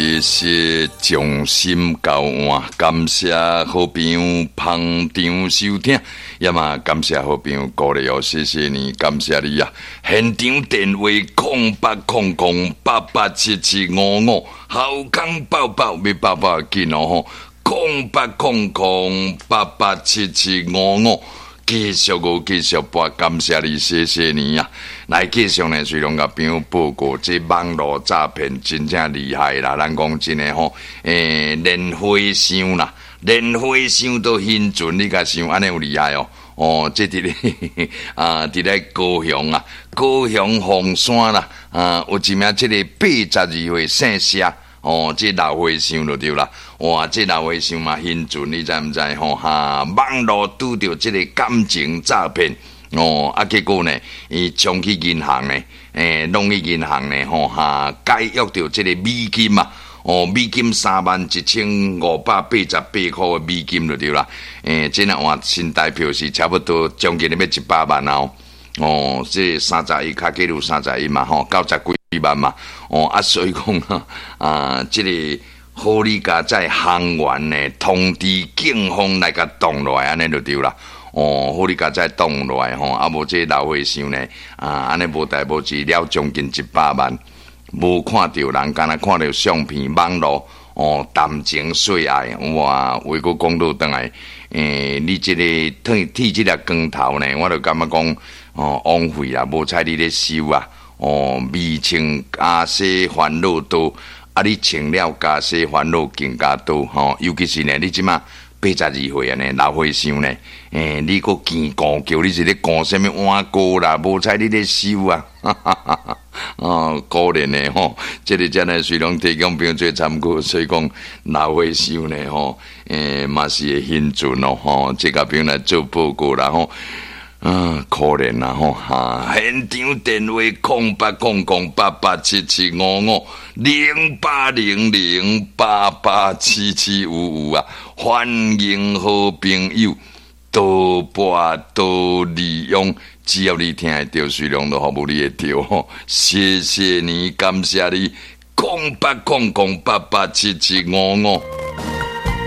謝謝將心交換，感謝好朋友捧場收聽，也嘛感謝好朋友鼓勵哦，謝謝你，感謝你啊！現場電話0800887755，好康報報，欲報報緊哦吼，0800887755。繼續閣繼續撥，感謝你，謝謝你啊！來繼續呢，雖然共朋友報告，這網路詐騙真正厲害啦。咱講真的吼，連和尚啦，連和尚都興船，你共想按呢有厲害哦？哦，這佇咧啊，佇咧高雄啊，高雄鳳山啦，啊，有一名這个82歲姓謝。哦，這老和尚就對啦，哇，這老和尚嘛興船，你知毋知吼？哈，網路拄著這个感情詐騙，哦，啊，結果呢，伊衝去銀行呢，攏去銀行呢，吼哈，解約著這个美金嘛，哦，美金31,588塊的美金就對啦，這若換新台票是差不多將近欲100萬哦，哦，這三十一較計有三十一嘛，吼，90幾萬嘛，哦啊，所以講啊，這个好你佳哉行員呢，通知警方來共擋落來，按呢就對啦。哦，好你佳哉擋落來吼，啊無這老和尚呢，啊，按呢無代無誌了將近100萬，無看著人，干焦看著相片網路，哦，談情說愛，哇，話閣講倒轉來，你這个剃剃這粒光頭呢，我就感覺講，哦，枉費啦，無彩你咧修啊。哦，未穿袈裟煩惱多，啊！你穿了袈裟煩惱更加多吼。尤其是呢，你這馬82歲啊呢，老和尚呢，你閣見孤叫，你是咧顧啥物碗糕啦？無彩你咧修啊！哈哈哈哈哦，可憐的吼，這个真的雖然提供朋友做參考，所以講老和尚呢吼，嘛是會興船咯吼，這共朋友來做報告啦吼。啊，可憐啦吼！哈，現場電話08008877550800887755啊！歡迎好朋友多撥多利用，只要你聽得著，隨量都服務你會著吼。謝謝你，感謝你，0800887755。